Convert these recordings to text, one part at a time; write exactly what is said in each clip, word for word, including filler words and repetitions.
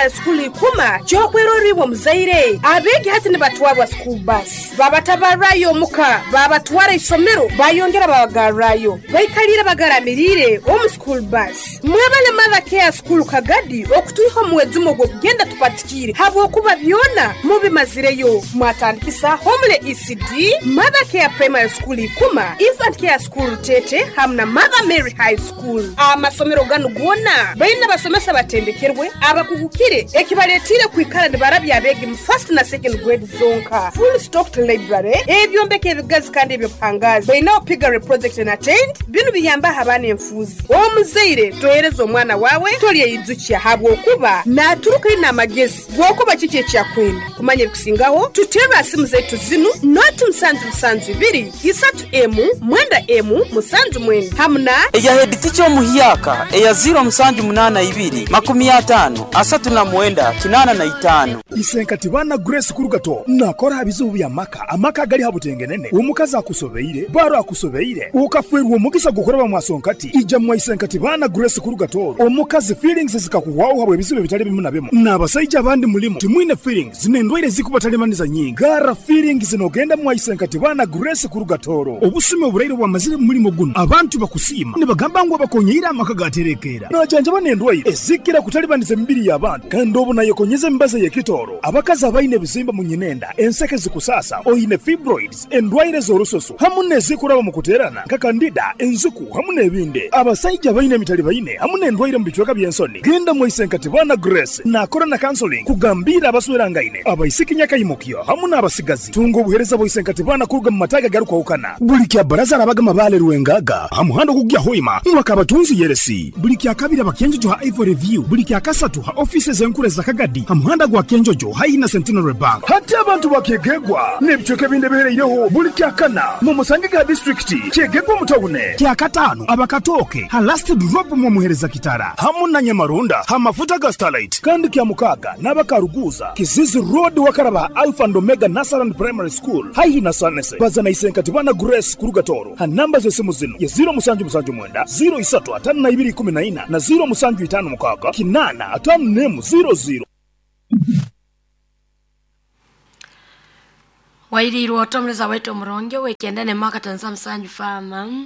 Primary School ikuma kyokweroribwa muzaire. Abeegi hati nibatwarwa school bus, babatabarrayo omuka, babatwara isomero, bayongera babagarrayo, baikalire bagaramirire omu school bus. Mwebale Mother Care School Kagadi okutwiha omuwezimu ogw'okugenda tupatikire habwokuba byona mubimazireyo. Mwatandikisa Homule E C D, Mother Care Primary School ikuma, Infant Care School Tete hamwe na Mother Mary High School. Amasomero ganu gona baina basomesa batendekerwe abakugukire ekibaletire kwikara nibarabya abeegi mu first na second grade zonka. Full stocked library, ebyombeko ebigazi kandi ebyobuhangazi. Baina piggery project na tent, binu biyamba abaana enfuuzi. Omuzaire tohereza omwana wawe tolyeyijukya habwokuba naturuka ina amagezi gwokuba kiki ekyakwenda. Kumanya ebikusingaho tutera simu zaitu zinu noti musanju musanju ibiri isatu emu mwenda emu musanju mwenda hamuna eya head teacher omuhyaka eya zero musanju munana ibiri makumi atano asatu na mwenda kinana na itano. Isenkati bana Grace Kurugato nakora bizibu bya maka amaka gali habutengenene omukazi akusobeire baro akusobeire ukafwerwa omugisa gukoraba mwasonkati ija mwa Isenkati bana Grace Kurugato omukazi feelings zikakuwaho habwe bizibu bitali bimu na bimu n'abasajja abandi mulimu timwine feelings zinendwaire zikubatalimaniza nyingi gara feelings zinogenda mwa Isenkati bana Grace Kurugatoro obusime oburaire bwamazire mulimo guno abantu bakusima nibagamba ngo bakonyeira amaka gaterekera najanja banendwaire ezikira kutalibaniza emibiri y'abantu kandi obu nayekonyeza embaza y'ekitoro abakazi abaine ebizimba mu nyinenda enseke zikusasa oyine fibroids endwaire z'orususu hamu n'ezikuraba mu kuterana nka kandida enzuku hamu n'ebindi abasajja baine emitali baine hamu n'endwaire mu bicweka by'ensoni genda mu Isenkati bana Grace nakora na counseling kugambira abaswerangaine abaisiki nyakayimukyo hamu n'abasigazi tunga obuhereza bwa Isenkati bana kuruga mu mataga garukwahukana buli kya baraza arabaga mabale rwengaga hamuhando kugya hoima mwakabatunzi yeresi buli kya kabiri abakenjojo ha Ivory View buli kya kasatu ha offices enkure za Kagadi hamuhanda gwa Kenjojo haina Centenary Bank hati abantu bakegegwa n'ebicweka ebindi bihereireho buli kya kana mu musange ga district kyegegwa mutawune kya katano abakatoke ha last drop mu muhereza kitara hamu na Nyamarunda ha mafuta ga Starlight kandi kya mukaga n'abakaruguza Kizizi Road wakaraba Alpha and Omega Nasaran Primary School haihi na Sanese bazana Isenkati bana Grace Kurugatoro ha namba z'esimu zino ya zero musanju musanju mwenda zero isatu atano na ibiri kumi na ina na zero musanju itano mukaga kinana atano nemu zero zero. Wairirwa otomreza wetu omuronge wekenda ne mwaka tanza msanju fama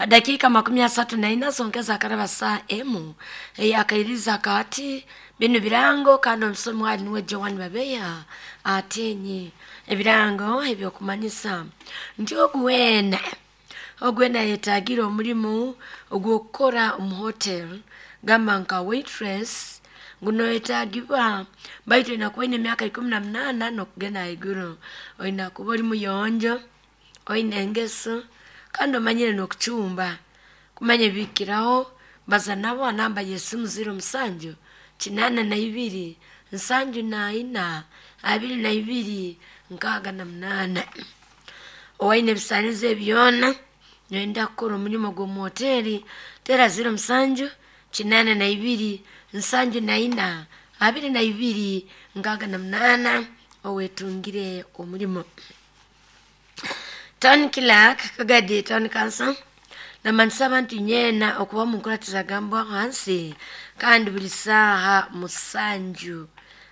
dakika makumi asatu na ina zongeza karaba saa emu yakairiza kati bino birango kandi omusomi wali niwe Joan Babeya atenye ebirango ebyokumanyisa nti ogwena ogwena yetagira omulimu ogwokukora omu hotel gamba nka waitress guno yetagibwa baitu inakuwa ine miaka ikumi na munana nokugenda iguru oina kuba oli muyonjo oine engeso kandi omanyire nokuchumba kumanya bikiraho baza nabo namba yesimu zero musanju kinana na ibiri nsanju na ina abiri na ibiri nkaga na munana owaine ebisanizo ebyona noyenda kukora omulimu gw'omu hoteli tera zero musanju kinana na ibiri nsanju na ina abiri na ibiri nkaga na munana owetungire omulimo. Town Clerk Kagadi Town Council namanisa abantu nyena okuba mu nkuratiza gambwa hansi kandi buli saaha musanju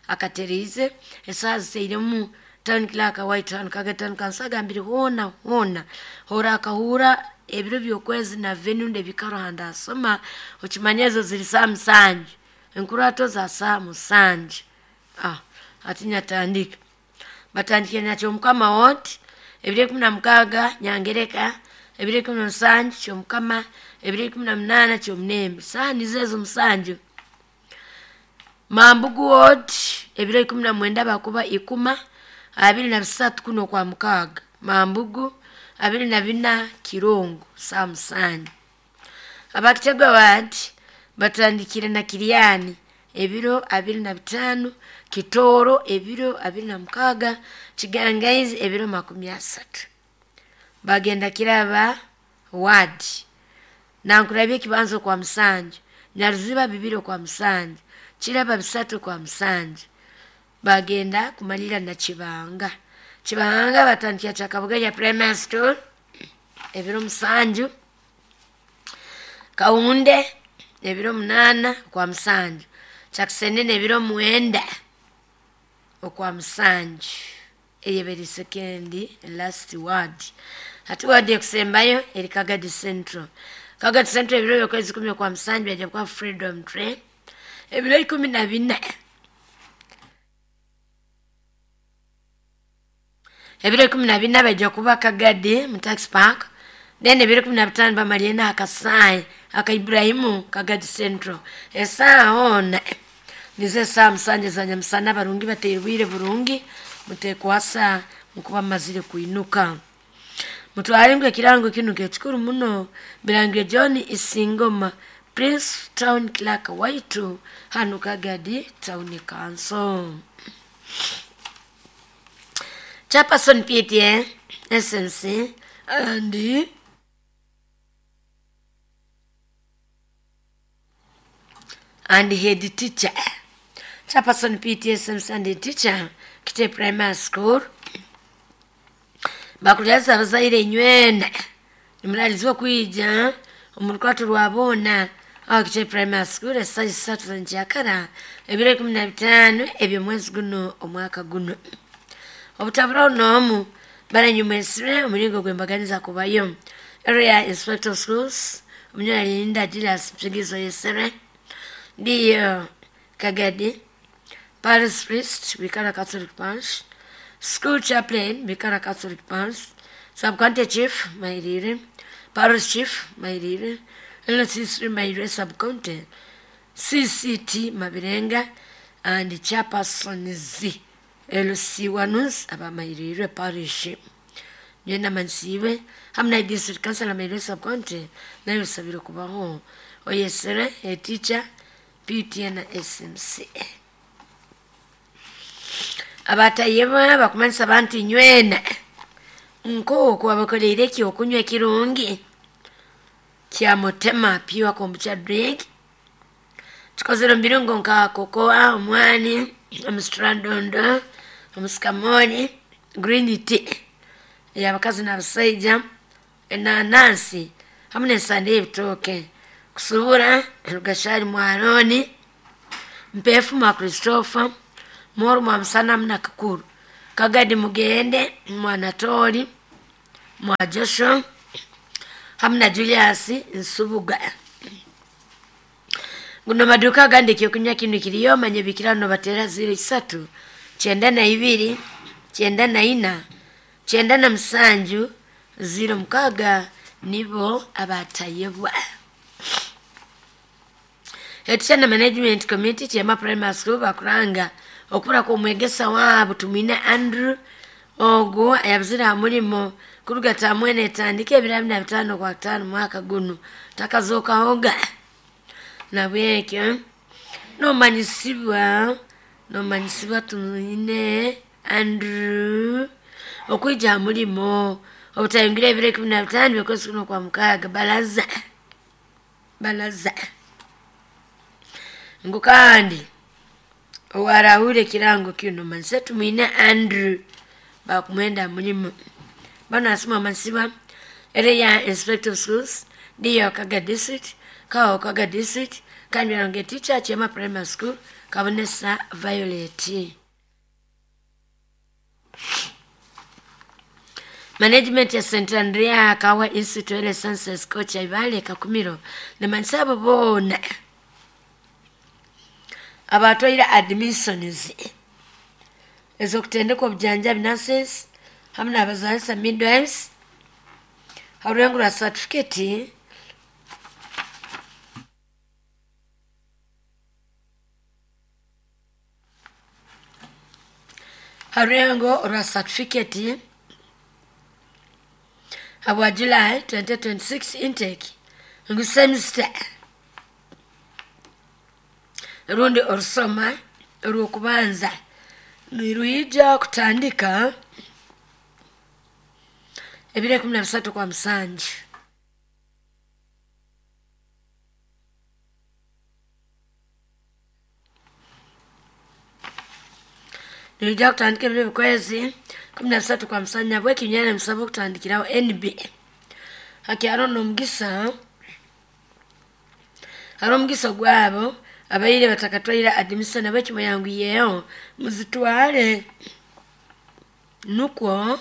akaterize esaaha ziseiremu Town Clerk wa Town Kagadi Town Council agambire hoona hoona hora akahura ebiro by'okwezi na venue ndebikaro handa asoma okimanya ezo ziri saa musanju enkurato za saa musanju. Ah, ati nyatandika batandikire nakyo mukama woti ebiro ikumi na mukaaga nyangereka ebiro ikumi na musanju kyomukama ebiro ikumi na munaana kyomunembe saaha nizo ezo musanju. Mambugu ward ebiro ikumi na mwenda bakuba ikuma abiri na bisatu kuno kwa mukaaga Mambugu abiri na bina Kirungu saa musanju. Abakitegwa ward batandikire na Kiriani ebiro abiri na bitano Kitoro ebiro abiri na mukaaga Kigangaizi ebiro makumi asatu. Bagenda kiraba ward nankurabye kibanzo kwa musanju Nyaruziba bibiro kwa musanju Kiraba bisatu kwa musanju. Bagenda kumalira na Kibanga Kibanga batandikira Kyakabuga ya Primary School ebiro musanju Kaunde ebiro munana kwa musanju Kyakusenene ebiro mwenda okwa musanju eyeberi second last word. Hati ward ekusembayo eri Kagadi Central. Kagadi Central ebiro byokwezi kumi okwa musanju bajja kuba Freedom Train. Ebiro ikumi na bina. Ebiro ikumi na bina bajja kuba Kagadi mu Tax Park. Then ebiro kumi na bitano bamaliye akasai aka Ibrahimu Kagadi Central. Esaa ona nize saa musanje za nyamusana barungi bateirwire burungi mutekwasa mukuba mazire kuinuka. Mutware ekirango kinu kekikuru muno birangire John Isingoma Prince Town Clerk waitu hanu Kagadi Town Council. Chairperson P T A S M C and and head teacher. Chairperson P T A S M C and head teacher Kite Primary School. Bakulyaza abazaire inywena nimuralizibwa kwija omu rukwatu rwabona aho Kite Primary School esaaha isatu za nkyakara ebiro ikumi na bitaano eby'omwezi guno omwaka guno. Obutaburaho n'omu baranyumwesire omuringo gw'embaganiza kubayo. Area Inspector of Schools Omunyalinda Julius Mpigizo Yesere Ndiyo Kagadi Parish Priest Bikara Catholic Parish School Chaplain Bikara Catholic Parish Sub-County Chief Mairire Parish Chief Mairire L C three Mairire Sub-County C C T Mabirenga and Chairperson Z L C Wanus aba Mairire Parish Nyena Mansiwe hamna District Council Mairire Sub-County nayo sabiro kubaho oyesere a teacher P T na S M C. Abatayeba bakumanisa abantu inywena nko abakoleire ki okunywa ekirungi kya mutema pure kombucha drink kikozere mu birungo nka kokoa, omwani, omusitrandondo, omusikamoni, green tea ey'abakazi n'abasaija, enanansi hamwe n'ensande y'ebitooke. Kusubura Rugashari Mwaroni, Mpefu mwa Christopher, Moru mwa Musana mna Kakuru, Kagadi Mugende mwa Natori mwa Joshua hamwe na Julius Nsubuga. Guno maduka agandi ekyokunywa kinu kiriyo manye bikirano batera ziro isatu kyenda na ibiri kyenda na ina kyenda na musanju ziro mukaga nibo abatayebwa. Etichana Management Committee Kyema Primary School bakuranga okubura kw'omwegesa waabo Tumwine Andrew ogwo ayabuzire aha murimo kuruga tamwene etandika ebiro abiri na bitaano kwa kutaano mwaka guno takazookahoga. Nabwekyo nomanyisibwa nomanyisibwa Tumwine Andrew okwija aha murimo obutayingira ebiro ikumi na bitaano by'okwezi kuno kwa mukaaga balaza balaza. Ngu kandi owarahure ekirango kino manise Tumwine Andrew bakumwenda mulimu bano asoma masiba area Inspector of Schools ndiyo Kaga District Kawo Kaga District kandi aronge teacher Kyema Primary School Kabonesa Violet. Management ya Saint Andrea Kawa Institute of Sciences Coach Ibale Kakumiro ne mansabo bona abatwaire admissions ez'okutendeka obujanjabi nurses hamwe n'abazaalisa midwives harurengo rwa certificate harurengo rwa certificate habwa July twenty twenty-six intake ngu semester rundi orusoma orw'okubanza niruija kutandika ebiro ikumi na bisatu kwa musanju. Niruija kutandika ebiro bikwezi kumi na bisatu kwa musanju nabweki nyene musaba okutandikiraho N B. Haki haro n'omugisa haro omugisa gwabo Abaire batakatwaire admission abekimwe muzitwale nukwo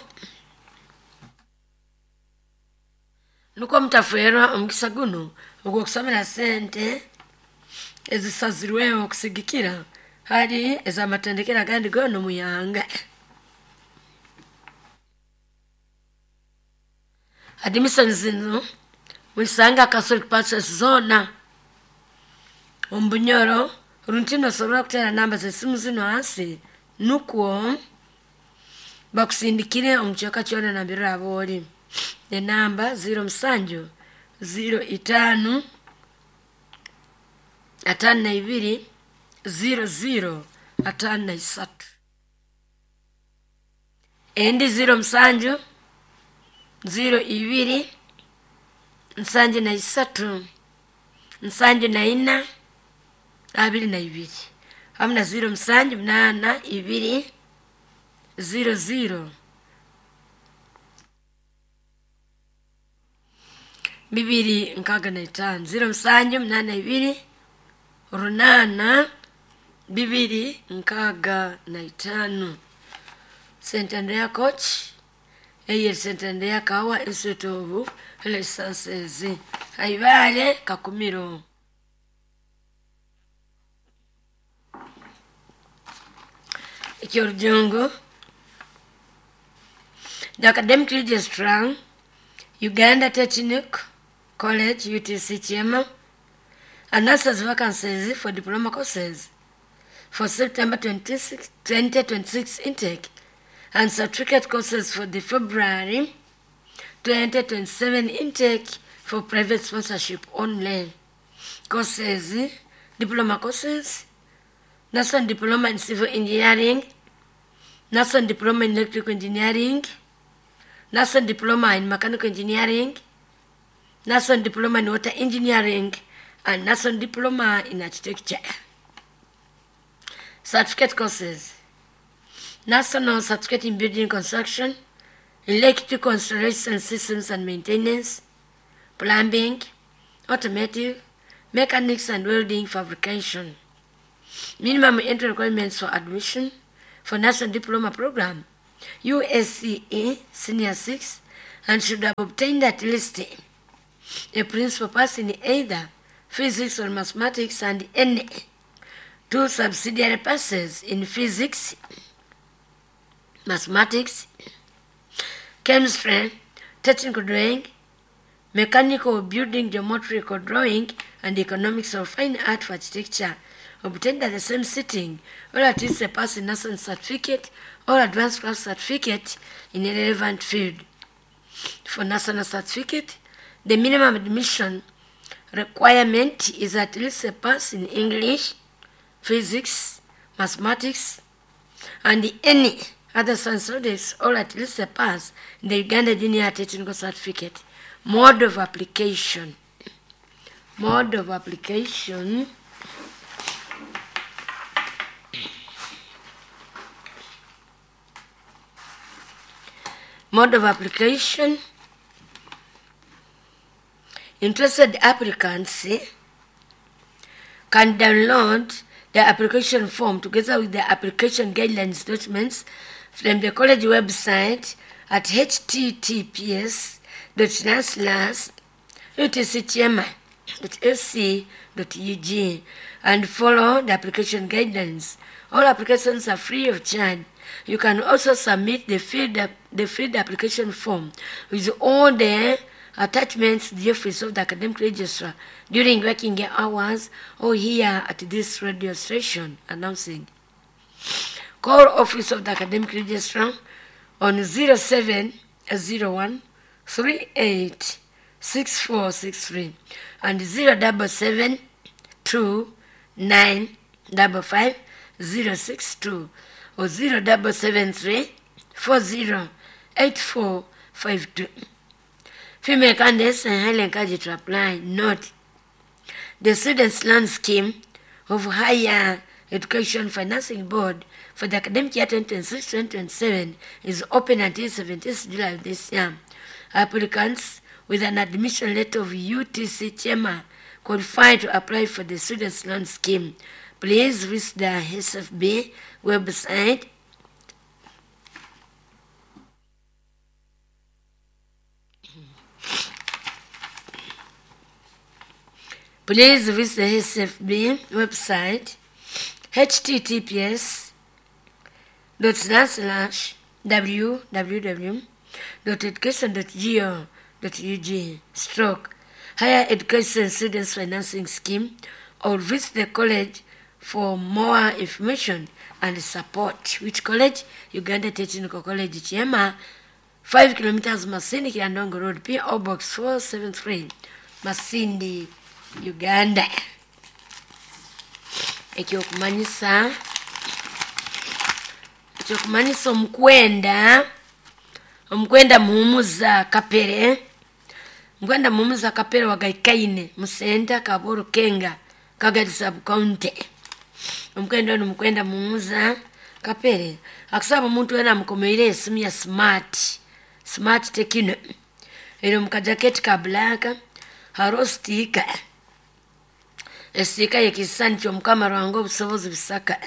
nukwo mutafwerwa omukisa guno ogw'okusomera sente ezisazirweho okusigikira hali ez'amatendekero agandi goona omuyanga. Admission zino muzisanga Catholic Pastors zoona omu Bunyoro. Runtino osobola kuteera namba z'esimu zino hansi nukwo bakusindikire omu kicweka kyona nambere oraba ori. Enamba ziro musanju ziro itaano ataano na ibiri ziro ziro ataano na isatu, endi ziro musanju ziro ibiri nsanju na isatu nsanju na ina abiri na ibiri, hamu na ziro musanju munaana ibiri ziro ziro bibiri nkaaga na itaano, ziro musanju munaana ibiri runaana bibiri nkaaga na itaano. Saint Andrea Coach eye Saint Andrea Kawa Institute of Health Sciences Haibale Kakumiro. Ekyorujungu, the Academic Registrar, Uganda Technical College U T C Kyema, announces vacancies for diploma courses for September twenty twenty-six intake and certificate courses for the February twenty twenty-seven intake for private sponsorship only. Courses, diploma courses, National Diploma in Civil Engineering, National Diploma in Electrical Engineering, National Diploma in Mechanical Engineering, National Diploma in Water Engineering, and National Diploma in Architecture. Certificate courses, National Certificate in Building Construction, Electrical Installation Systems and Maintenance, Plumbing, Automotive, Mechanics and Welding Fabrication. Minimum entry requirements for admission for National Diploma Program, U S C E Senior six, and should have obtained at least a principal pass in either physics or mathematics and any two subsidiary passes in physics, mathematics, chemistry, technical drawing, mechanical building, geometrical drawing, and economics or fine art for architecture, obtained at the same sitting, or at least a pass in national certificate or advanced class certificate in a relevant field. For national certificate, the minimum admission requirement is at least a pass in English, physics, mathematics, and any other science subjects, or at least a pass in the Uganda Junior Technical Certificate. Mode of application. Mode of application. Mode of application. Interested applicants can download the application form together with the application guidelines documents from the college website at h t t p s dot slash u t c kyema dot a c dot u g and follow the application guidelines. All applications are free of charge. You can also submit the filled, the filled application form with all the attachments to the office of the academic registrar during working hours or here at this radio station announcing. Call office of the academic registrar on zero seven zero one three eight six four six three and zero double seven two nine double five zero six two or zero double seven three four zero eight four five two. Female candidates are highly encouraged to apply. Note, the Students' Loan Scheme of Higher Education Financing Board for the academic year twenty twenty-six twenty twenty-seven is open until seventeenth July of this year. Applicants with an admission letter of U T C Kyema qualify to apply for the Students Loan Scheme. Please visit the S F B website Please visit the S F B website H T T P S dot slash slash w w w dot education dot go dot U G stroke Higher Education Students Financing Scheme, or visit the college for more information and support. Which college? Uganda Technical College, Kyema, five kilometers Masindi, Kiandongo Road, P O Box four seven three, Masindi, Uganda. Ekyokumanyisa, ekyokumanyisa omukwenda, omukwenda muhumuza Kapere, mukwenda muhumuza Kapere wagaikaine musenta Kaboro Kenga Kagadi sub county. Omukwenda ono mukwenda muhumuza Kapere akusaba omuntu wena amukomeire esimu ya smart smart Tecno eri omu kajaketi ka black, hariho sitiika, esitiika y'ekisisani ky'Omukama Ruhanga obusobozi bisaka,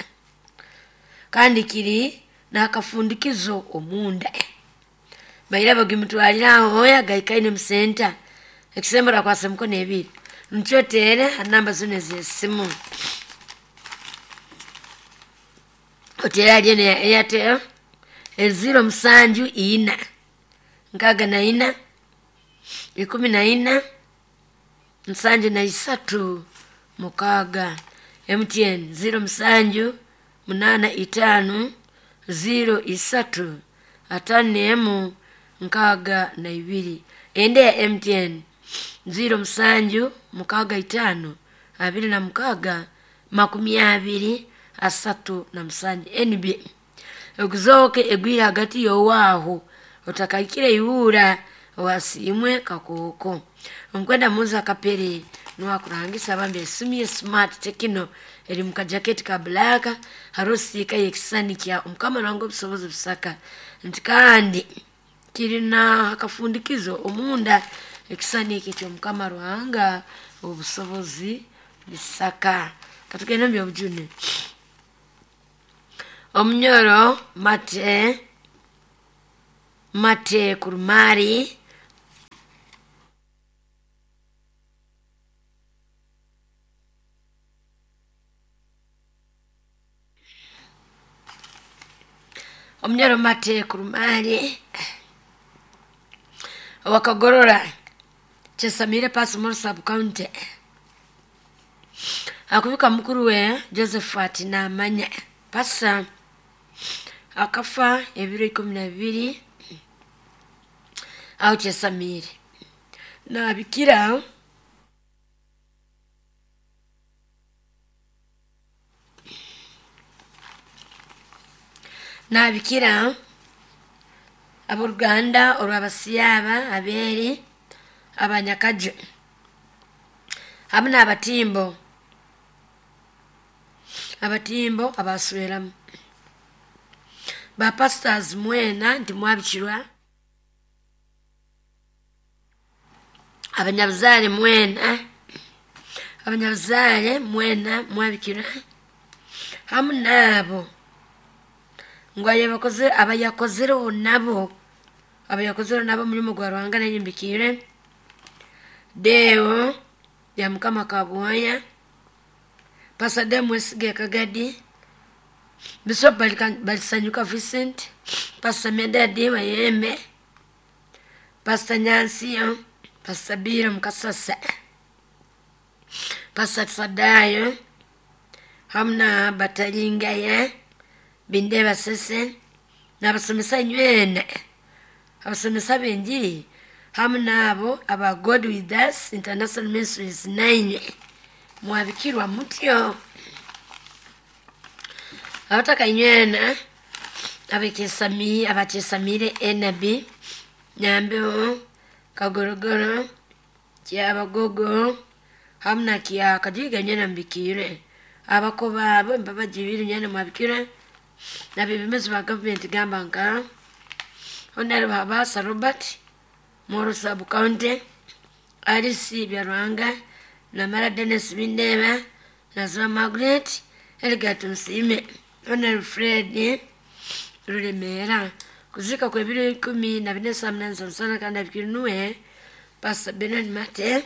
kandi kiri n'akafundikizo omunda. Baira bagimutwalira aho oya gaikaine musenta ekisembera kwasa emikono ebiri nkyoteere ha namba zino ez'esimu oteere hali eno ya Airtel eziro musanju ina nkaaga na ina ikumi na ina nsanju na isatu mukaaga. M T N ziro musanju munana itaano ziro isatu atano emu nkaaga na ibiri. Ende ya M T N ziro musanju mukaaga itaano abiri na mukaaga makumi abiri asatu na musanju. N B oguzooke egwire hagati y'owaaho otakaikire iwura wasimwe kakooko. Omukwenda muza Kapere niwakurangisa bambi esimu ye smart Tecno eri mu kajaketi ka black, hariho sitiika y'ekisisani kya Omukama Ruhanga obusobozi busaka, nti kandi kirina akafundikizo omunda ekisisani eki ky'Omukama Ruhanga obusobozi bisaka. Katugende mu byobujune. Omunyoro mate mate kurumari Omunyoro mate kurumari wakagorora Chesamire Pass Moro sub county akubika mukuru we Josephat namanya pasa akafa ebiro ikumi na bibiri aho Chesamire nabikira nabikira aboluganda olwabasiyaba abeeri abanyakajo hamu n'abatimbo abatimbo abasweramu ba pastors mwena nti mwabikirwa abanyabuzaale mwena abanyabuzaale mwena mwabikirwa hamu n'abo ngu abakoze abayakozereho nabo abayakozereho nabo omulimu gwa Ruhanga nayimbikiire Deo ya Mukama Kabwoya Pastor Deo Mwesige Kagadi Bishop Balisanyuka Vincent Pastor Medadi Wayembe Pastor Nyansiyo Pastor Biro Mukasasa Pastor Sadayo hamna Batalingaya Bindeba Sese n'abasomesa nywena abasomesa b'enjiri hamu n'abo aba God with Us International Ministries nine mwabikirwa mutyo abataka nywena abekesami abakesamire N B Nyambeho Kagorogoro Kyabagogo hamu na kya Kajiga nywena mbikire abakoba abo mbabajibiri nywena mwabikire nabebembezi ba gavumenti gamba nka Honorable Habasa Robert Moro sub county Alice Byarwanga Namara Dennis Bindeba, Nazwa Margaret, Edgar Tumsime, Honorable Fred Rulemera. Kuzika kwa biro ikumi na bine saa munane za mchana kandi abikinuwe Pastor Bernard Mate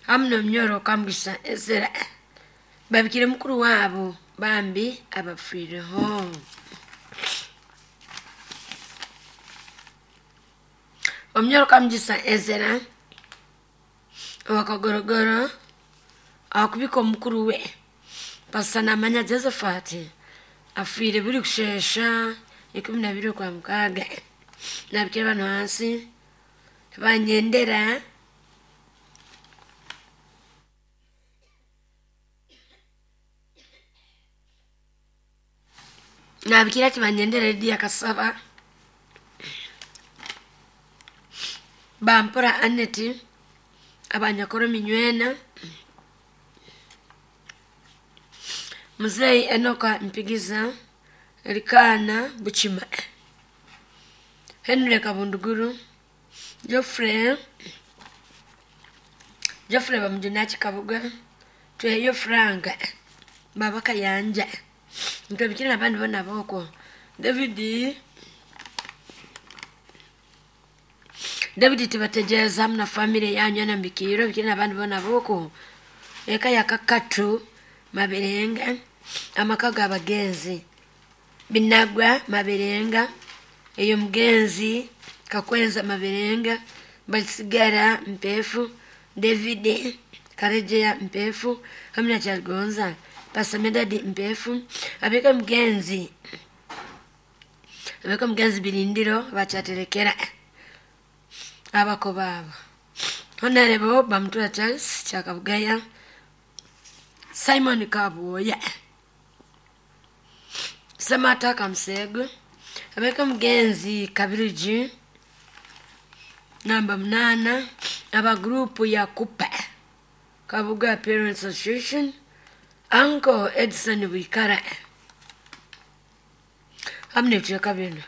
hamwe n'omnyoro Kamugisa Ezra babikire mukuru wabo bambi abafiireho. Omnyoro Kamugisa Ezra owakagorogoro akubika omukuru we Pastor Namanya Josephat afiire buri kushesha ikumi na bibiri kwa mukaaga nabikire bano hansi banyendera nabikira ati banyendera Lydia Kasaba bampora Anneti abanyakoro minywena Mzee Enoka Mpigiza Elikana Buchima Henry Kabunduguru Geoffrey Geoffrey Bamujunaki Kabuga Tweyo Frank Baba Kayanja Nkabikira n'abandi bona boko David David tibategereza hamwe na family yanyu na mbikiro bikira n'abandi bona boko eka yakakatu Mabirenga amaka g'abagenzi Binagwa Mabirenga eyo mugenzi Kakwenza Mabirenga Basigara Mpefu David Karejeya Mpefu hamwe na Kyaligonza Pastor Medadi Mpefu abeka mugenzi abeka mugenzi Birindiro bakyaterekera abako babo Honorable Bamutura Charles Kyakabugaya Simon Kabuya Samata Kamsego abeka mugenzi Kabiriji namba munana aba grupu ya Kupa Kabuga Parents Association Uncle Edson Wikara hamwe n'ebicweka bino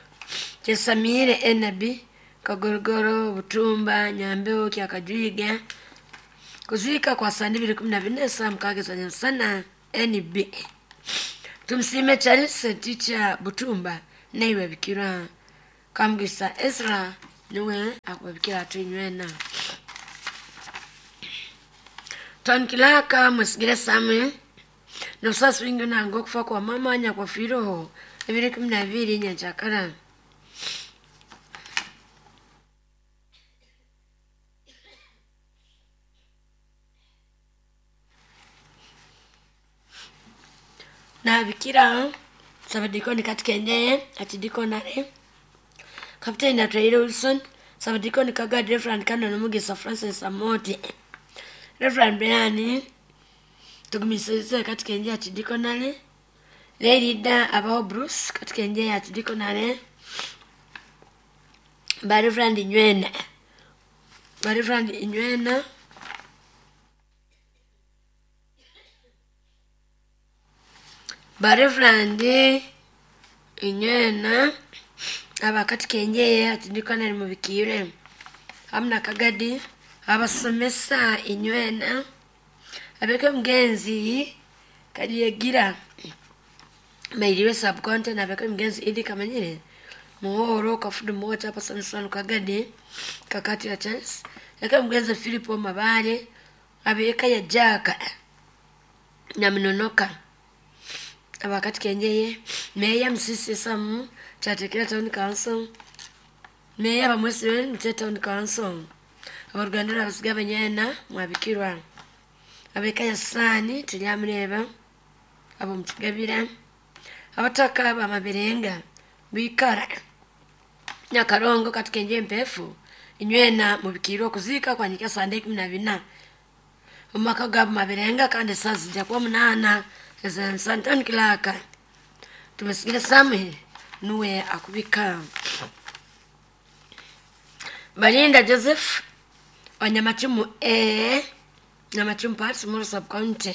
Kyesamire Enabi Kagorogoro Butumba Nyambeho Kyakajwiga kuzika kwa saa mbili kumi na bine saa mukaaga za nyamusana N B Tumsime Charles Teacher Butumba naiwe bikira Kamugisa Ezra niwe akubabikira atinywena Tonkilaka musigire Samuel n'obusasi bwingi nanga okufa kwa mama nyakwafiireho ebiro ikumi na bibiri nyankyakara. Nabikira Sabadikoni Katikendeye Atidikonare Kapteni Atwaire Wilson Sabadikoni Kagadi Reverend Canon Mugisa Francis Amoti Reverend Brian Tugumisirize Katikendeye Atidikonare Lerida Abaho Bruce Katikendeye Atidikonare Ba Reverend Nywena Ba Reverend Nywena Ba Reverend Inywena abakatikenjeye atidikonare mubikire hamwe na Kagadi abasomesa Inywena abeke mugenzi Kalyegira Mairiwe subcontent abeke mugenzi Idi Kamanyire Muhoro Kafudu Mota pasomesa Kagadi Kakati ya Charles eke mugenzi Philip Mabale abeka ya Jaka Nyaminonoka abakatikenjeye Meya Msisi Samu Kyatekera Town Council Meya Bamwesiwe Mute Town Council abaruganda abasiga abanyena mwabikirwa abeka ya Sani tulyamureba abo mukigabira abataka bamabirenga bikara Nyakarongo Katikenje Mpefu Inywena mubikirwa kuzika kwanyika sande ikumi na bina omumaka gabo Mabirenga kandi saa zijja kuba munana ez'ensantani Kilaka tumusigire Samuel nuwe akubika Balinda Joseph wa Nyamachumu A Nyamachumu Parts Moro Sub County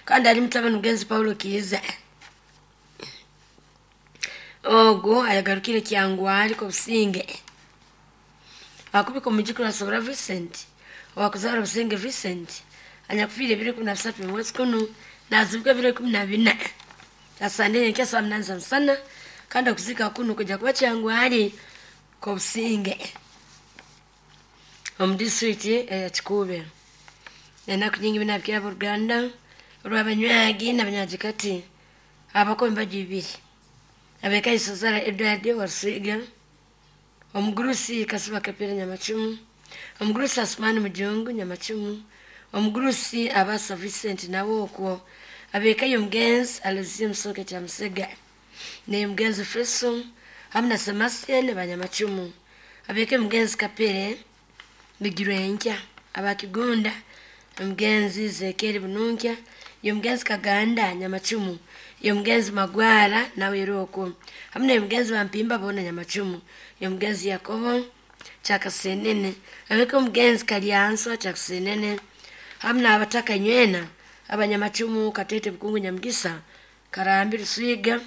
kandi ali mutabani mugenzi Paulo Kiiza ogo ayagarukire Kyangwali ko businge akubika omujukuru asobora Vincent Owakuzara Businge Vincent anyakufiire ebiro ikumi na bisatu mu mwezi kunu nazibwa ebiro ikumi na bina asande nkya saa munani za musana kandi okuzika kunu kuja kuba Kyangwali Kobusinge omu disitulikiti eya Kikuube. Enaku nyingi binabikira abooluganda olw'abanywagi n'abanyagikati abakumi baju ibiri abekaisozara Edward Warusiga, omugurusi Kasiba Kapere Nyamacumu, omugurusi Asumani Mujungu Nyamacumu, omugurusi Abasa Vincent nawe okwo abekayo omugenzi Alozie Musoke kya Musega naye omugenzi Feso hamu na Sebastian Banyamacumu, abekayo omugenzi Kapere Bigirwenkya abakigunda omugenzi Zekeri Bununkya yomugenzi Kaganda Nyamacumu, yomugenzi Magwara nawe era okwo hamu naye Bampimba bona Nyamacumu, yomugenzi Yakobo Kyakasenene, abeka omugenzi Kalyanso Kyakasenene hamu n'abataka nywena abanyamacumu Katete Bukungu Nyamugisa Karambi Ruswiga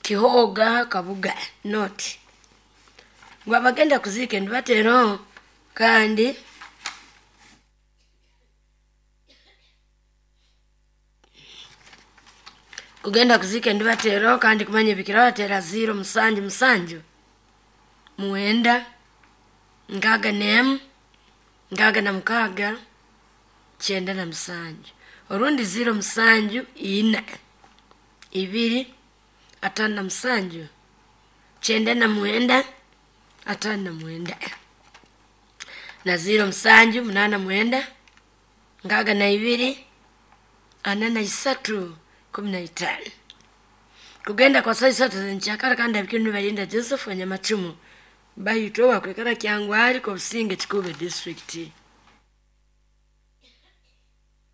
Kihoga Kabuga Noti ngu abagenda kuziika endibatero kandi kugenda kuzika endibatero kandi kumanya ebikira batera ziro musanju musanju muwenda nkaaga nemu nkaaga na mukaaga kyenda na musanju orundi ziro musanju ina ibiri atano na musanju kyenda na mwenda atano na mwenda na ziro musanju munana mwenda nkaaga na ibiri ana na isatu kumi na itaano kugenda kwa saa isatu zenkyakara kandi abikinu balinda Joseph Wanyamacumu bayitwa wakwekara Kyangwali Kobusinge Kikuube district.